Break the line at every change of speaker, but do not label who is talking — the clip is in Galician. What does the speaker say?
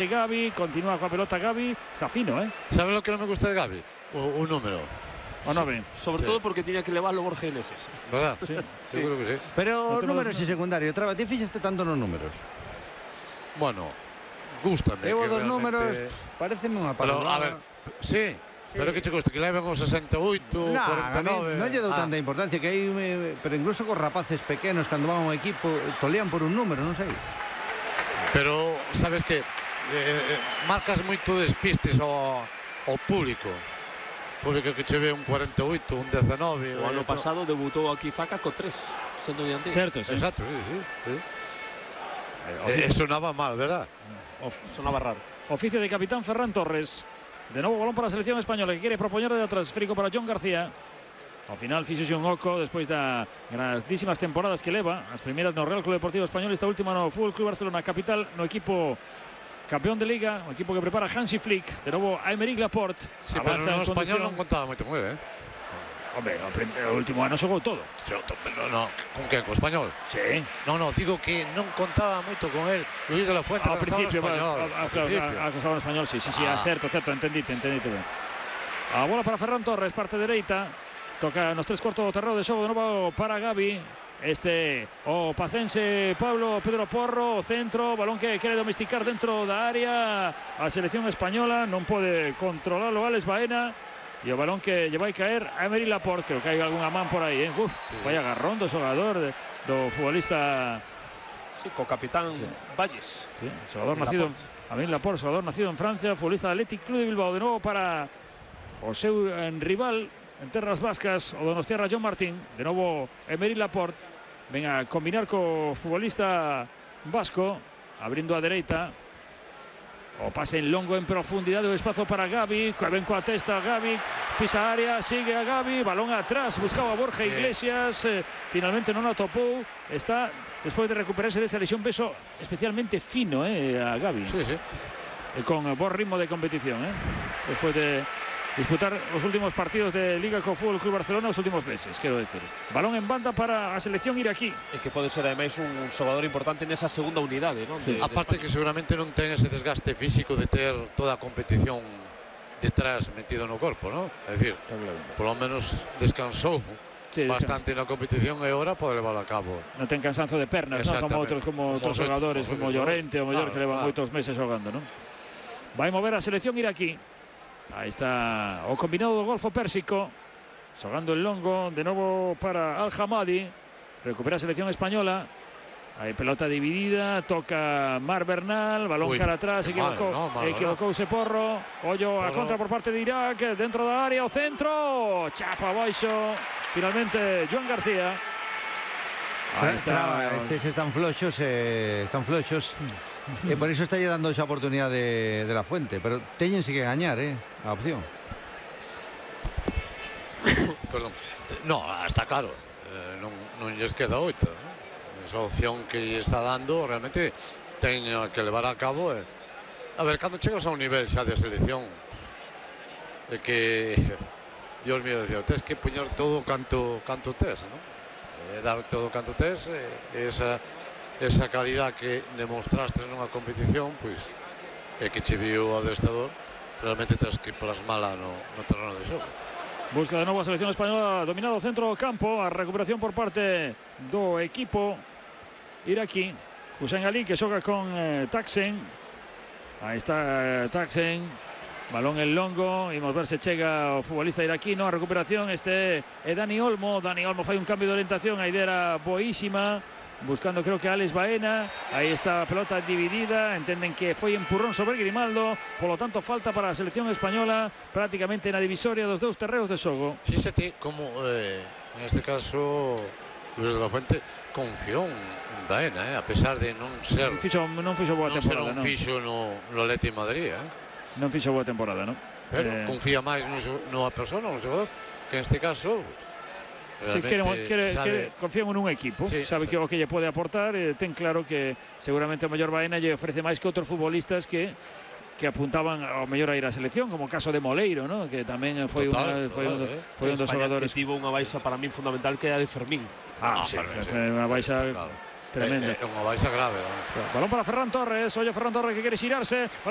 Gavi, continúa con la pelota Gavi, está fino, ¿eh?
¿Sabes lo que no me gusta de Gavi? Un número.
¿O no ven?
Sobre todo porque tenía que elevarlo Borja Iglesias.
¿Verdad?
Sí.
Seguro que sí.
Pero números y secundario, Traba, ti fixaste tanto nos números.
Bueno, gústame.
Eu
que
dos
realmente...
números, pareceme unha
Pero, a ver,
palabra.
sí. Pero que che gusta, que leven os 68,
Nah, a mí
49...
non lle dou tanta importancia que hai, pero incluso cos rapaces pequenos cando van a un equipo tolean por un número, non sei.
Pero, sabes que marcas moito despistes ao público. Público que che ve un 48, un 19...
O ano pasado debutou aquí Faca co 3, sendo dianteiro.
Certo, sí.
Exacto, sí. Sonaba mal, ¿verdad?
Sonaba raro.
Oficio de capitán Ferran Torres. De nuevo balón para la selección española que quiere propoñer de atrás. Esférico para John García. Ao final fixose un oco despois das grandísimas temporadas que leva. As primeiras no Real Club Deportivo Español, esta última no Fútbol Club Barcelona capital, no equipo campeón de Liga, un equipo que prepara Hansi Flick. De novo Aymeric Laporte.
Sí, pero no español non contaba moito con él,
Hombre, o último ano xogou todo.
No, con quen? Co español?
Sí.
No, digo que non contaba moito con él Luis de la Fuente.
Ao principio,
que
estaba en español, sí, certo, entendite ben. A bola para Ferran Torres, parte dereita. Toca nos 3/4 do terreo de xogo de novo para Gavi. O pacense Pablo Pedro Porro, o centro, balón que quere domesticar dentro da área. A selección española non pode controlarlo Alex Baena. E o balón que lle vai caer a Aymeric Laporte, creo que hai algunha man por aí, Uf, sí. Vaya agarrón do xogador, do futbolista.
Sí, co capitán Valles.
Sí, xogador nacido Aymeric Laporte, xogador nacido en Francia, futbolista del Athletic Club de Bilbao, de novo para o seu rival en terras vascas, o donostiarra John Martín, de novo Aymeric Laporte, ven a combinar co futbolista vasco, abrindo a dereita. O pase en longo en profundidade, o espazo para Gavi, que ven coa testa Gavi, pisa a área, sigue a Gavi, balón atrás, buscaba a Borja Iglesias, finalmente non atopou, está despois de recuperarse desa lesión, peso especialmente fino a Gavi.
Sí.
Con bo ritmo de competición, despois de disputar os últimos partidos de Liga co Fútbol Club Barcelona os últimos meses, quero decir. Balón en banda para a selección iraquí.
E que pode ser ademais un xogador importante nesa segunda unidade, non?
Sí.
Aparte que seguramente non ten ese desgaste físico de ter toda a competición detrás metido no corpo, non? É dicir, polo menos descansou bastante na competición e agora pode levarlo a cabo.
Non ten cansanzo de pernas, non? Como outros xogadores, como Llorente ou mellor que levan moitos meses xogando, non? Vai mover a selección iraquí. Aí está o combinado do Golfo Pérsico, xogando el longo, de novo para Al-Hamadi, recupera a selección española, aí pelota dividida, toca Mar Bernal, balón cara atrás, equivocouse Porro, ollo a contra por parte de Irak, dentro da área, o centro, chapa abaixo, finalmente Joan García.
Aí está. Estes están floxos, e por iso está lle dando esa oportunidade de la Fuente, pero teñense que gañar, a opción.
Perdón. No, está claro, non lles queda outra, esa opción que lle está dando realmente ten que levar a cabo. A ver, cando chegas a un nivel xa de selección que, Dios mío, tens que poñer todo canto tes, non? Dar todo canto tes, esa calidad que demostrastes nunha competición, pois é que che viu o adestrador, realmente tens que plasmala no terreno de xogo.
Busca de novo a selección española, dominado o centro do campo, a recuperación por parte do equipo iraquí. Hussein Ali que xoga con Taksen. Aí está Taksen, balón en longo, imos ver se chega o futbolista iraquino, a recuperación é Dani Olmo fai un cambio de orientación, a idea era boísima, buscando creo que a Alex Baena, aí está a pelota dividida, entenden que foi empurrón sobre Grimaldo, polo tanto falta para a selección española prácticamente na divisoria dos dous terreos de xogo.
Fíxate como en este caso Luis de la Fuente confiou en Baena, a pesar de non ser
non fixo boa temporada,
non fixo no Atleti Madrid,
non fixo boa temporada, non?
Pero confía máis nunha persona, no xogador, que en este caso
confían nun equipo, sabe que o que lle pode aportar, ten claro que seguramente o mellor Baena lle ofrece máis que outros futbolistas que apuntaban ao mellor a ir á selección, como o caso de Moleiro, ¿no? Que tamén foi un dos xogadores
que tivo unha baixa para min fundamental, que é a de Fermín.
Unha baixa tremenda.
Unha baixa grave.
Balón para Ferran Torres, ollo Ferran Torres que quere xirarse, balón